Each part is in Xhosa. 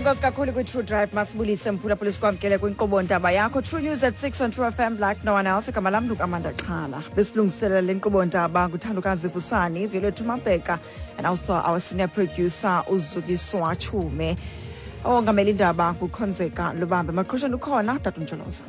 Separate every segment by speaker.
Speaker 1: Enkosi kakhulu kwi-True Drive. Masibulise mphulaphula, sikwamkele kwinkqubo ndaba yakho True News at 6 on True FM like no one else. Igama lam nguAmanda Xhala. Besilungiselela le nkqubo ndaba nguthandokazi Vusani, Violethu Mabheka and also our senior producer uZukiswa Chume. Owongamela indaba kukhonzeka Lubambe. Maqhusheni ukhona Tata Ntsholoza.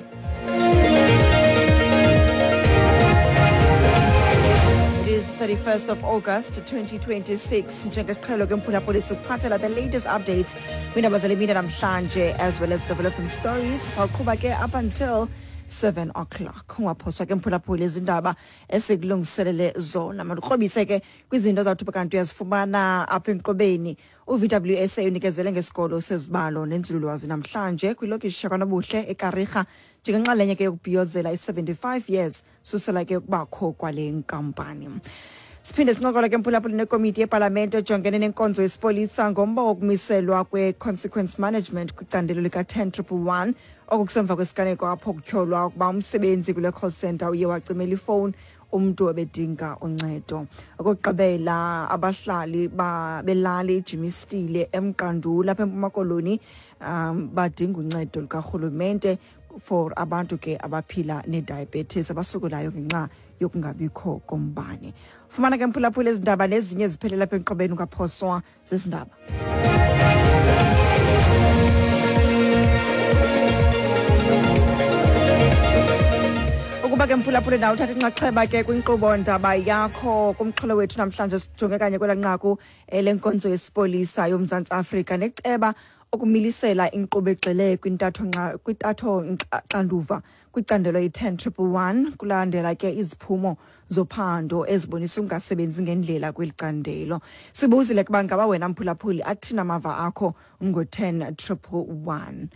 Speaker 1: It is 31st of August 2026. Njengesiqhelo ke mphulaphuli, sikuphathela the latest updates kwiindaba zale mini namhlanje as well as developing stories. Sawuqhuba ke up until 7 o'clock. Ungaphoswa ke mphulaphuli izindaba esikulungiselele zona. Mandikrobise ke kwizinto zawuthi kanti uyazifumana apha enkqubeni. U-VWSA unikezele ngesikolo sezibalo nenzululwazi namhlanje kwilokishi yakwaNobuhle eKariga njengenxalenye ke yokubhiyozela i-75 years susela ke ukubakho kwale nkampani. Siphinde sincokola ke mphulaphuli nekomiti yepalamente ejongene nenkonzo yesipolisa ngomba wokumiselwa kwe-consequence management kwicandelo lika-10 111. Oku kusemva kwesiganeko apho kutyholwa ukuba umsebenzi kule call center uye wacimela ifowuni umntu ebedinga uncedo. Okokugqibela, abahlali belali iJimistile eMqandula apha eMpuma Koloni badinga uncedo lukarhulumente for abantu ke abaphila ne-diabetes abasokolayo ngenxa yokungabikho kombane. Fumana ke mphulaphula ezi ndaba nezinye eziphelela apha enkqubeni, ungaphoswa zezindaba. Ukuba ke mphulaphula nawe uthatha inxaxheba ke kwinkqubo ndaba yakho, kumxholo wethu namhlanje sijonge kanye kwela nqaku lenkonzo yesipolisa yoMzantsi Afrika neceba ukumilisela inkqubo egxile kwintatho xanduva kwicandelo i-10 111 kulandela ke iziphumo zophando ezibonisa ukungasebenzi ngendlela kweli candelo. Sibuzile kuba ngaba wena mphulaphuli athini amava akho ngo-10 111.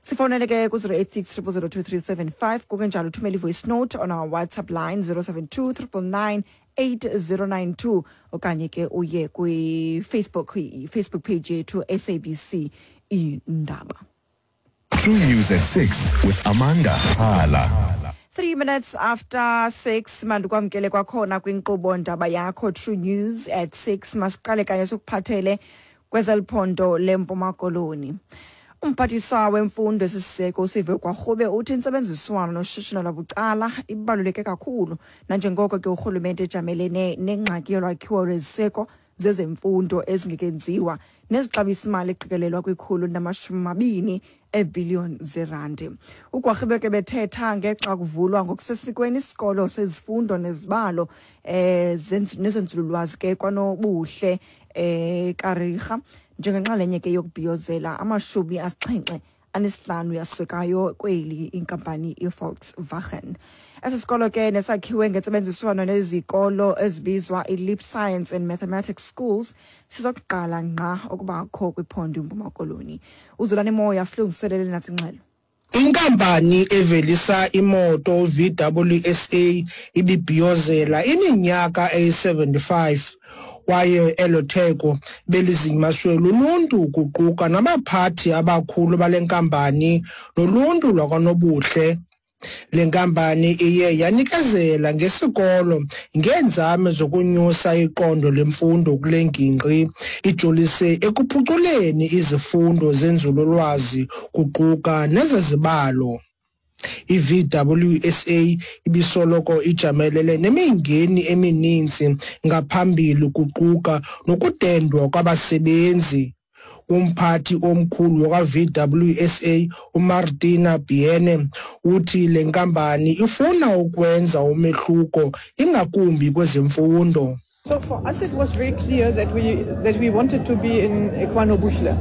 Speaker 1: Sifonele ke ku-086 0002375, kukenjalo uthumele i-voice note on our WhatsApp line 072 999 8092, okanye ke uye kwi-Facebook, i-Facebook page yethu SABC Indaba.
Speaker 2: True News at 6 with Amanda Hala.
Speaker 1: 3 minutes after 6, mandikwamkele kwakhona kwinkqubo ndaba yakho True News at 6. Masiqale kanye sikuphathele kwezeliphondo leMpuma Koloni. Umphathiswa wemfundo esisiseko uSiviwe Gwarube uthi intsebenziswano noshishino lwabucala ibaluleke kakhulu nanjengoko ke urhulumente ejamelene nengxaki yolwakhiwo lweziseko zezemfundo ezingekenziwa nezixabisa imali eqikelelwa kwi-120 eebhiliyoni zerandi. UGwarube ke bethetha ngexa kuvulwa ngokusesikweni isikolo sezifundo nezibalo nezenzululwazi ke kwanobuhle Kariga njengenxalenye ke yokubhiyozela 75 yasekayo kweli inkampani iVolkswagen. Esi sikolo ke nesakhiwe ngentsebenziswano nezikolo ezibizwa i-Leap Science and Mathematics Schools sizokuqala ngqa ukubakho kwiphondo iMpuma Koloni. Uzulani Moya silungiselele natsi ingxelo.
Speaker 3: Inkampani evelisa imoto VWSA ibibhiyozela iminyaka eyi-75 kwaye elo theko belizinyaswe luluntu kuquka nabaphathi abakhulu bale nkampani noluntu lwakwaNobuhle. Le nkampani iye yanikezela ngesikolo ngeenzame zokunyusa iqondo lemfundo kule ngingqi, ijolise ekuphuculeni izifundo zenzululwazi kuquka nezezibalo. I-VWSA ibisoloko ijamelene nemingeni emininzi ngaphambili kuquka nokudendwa kwabasebenzi. Umphathi omkhulu wakwa-VWSA uMartina Biene uthi le nkampani ifuna ukwenza umehluko ingakumbi kwezemfundo.
Speaker 4: So for us it was very clear that we wanted to be in KwaNobuhle.